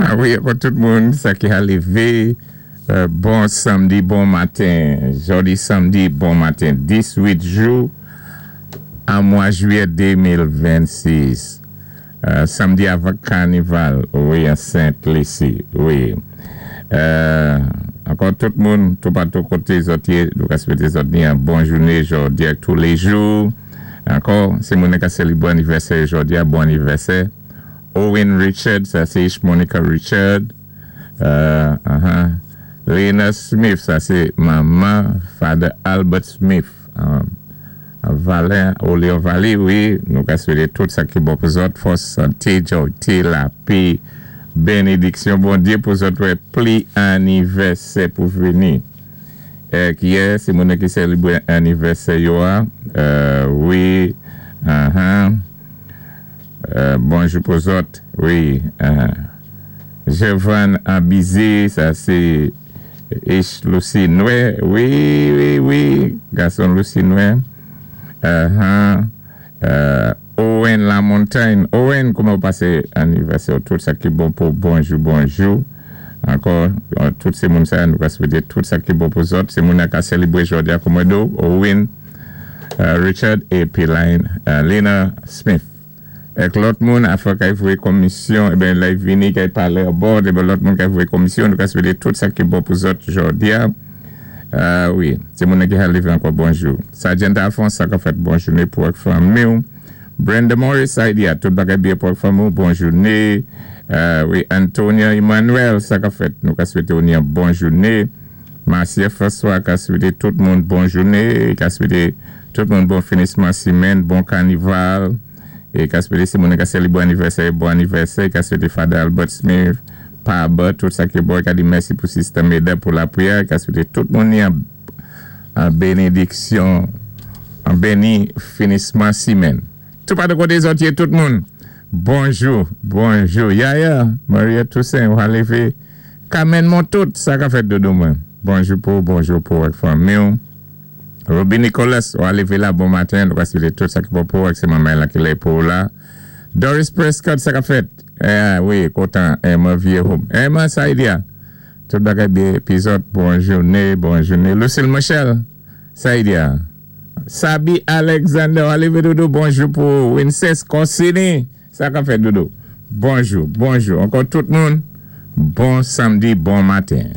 Ah wi, ankò tout moun, sa ki a lévé, bon samdi, bon maten. Jòdi samdi, bon maten. 18 jou an mwa jwiyè 2026. Samdi avan kanival, wi, an Sent Lisi, wi. Ankò tout moun, toupatou koté zòt yé, nou ka swété zòt ni an bon jouné jòdi ak touléjou. Ankò, si moun ka sélébwé anivèsè jòdi a, bon anivèsè. Owen Richard, sa sé Monica Richard. Lena Smith, sa sé manman Father Albert Smith. Valen, Oleon Valley, wi, nou ka swété tout sa ki bon pou zòt, fòs, santé, jòyté, lapé, bénédiksyon Bondyé pou zòt wè pli anivèsè pou vini. Ki yè, sé moun ki sélébwé anivèsè yo a, wi, bonjou pou zòt, wi, Jevan Abizé, sa sé H. Lucy Noé, wi, gason Lucy Noé, Owen Lamontagne, Owen, kouman ou pasé anivèsè, tout sa ki bon pou bonjou, bonjou. Ankò, tout sé moun sa, nou ka swété tout sa ki bon pou zòt. Sé moun ka sélébwé jòdi a kòmòdo, Owen, Richard épi Lena Smith. Ek lòt moun afè kay voyé komisyon, eben lè vini kay palé about, eben lòt moun kay voyé komisyon, nou ka swété tout sa ki bon pou zòt jòdi a. Wi, sé moun ki ha lévé ankò bonjou. Sergeant Alphonse, sa ka fèt bon jouné pou ak fanmi ou. Brenda Morris, sa di a tout bagay byen pou ak fanmi ou, bon jouné. Wi, Antonia Emmanuel, sa ka fèt, nou ka swété ou ni an bon jouné. Marcia François, ka swété tout moun bon jouné, ka swété tout moun bon finisman simèn, bon kanival. É ka swété si moun ka sélébwé anivèsè, bon anivèsè, ka swété Father Albert Smith, Pa Albert, tout sa ki bon, ka di mèsi pou Sister Meda pou lapriyè, ka swété tout moun ni an, an bénédiksyon, an béni finisman simèn. Tout pa de koté zòt yé tout moun. Bonjou, bonjou. Yaya, Maria Toussaint, ou a lévé. Carmen Montout, sa ka fèt dodo mwen. Bonjou pou ak fanmi ou. Ruby Nicholas, ou a lévé la, bon maten, nou ka swété tout sa ki bon pou ak sé manman la ki lè pou la. Doris Prescott, sa ka fèt. Eh, wi, kontan, Emma Viejo. Emma, sa y di a. Tout bagay byen, épizòd, bon jouné, bon jouné. Lucille Michel, sa y di a. Sabi Alexander, ou a lévé dodo, bonjou pou Winces Corsini. Sa ka fèt dodo. Bonjou, bonjou. Ankò tout moun, bon samdi, bon maten.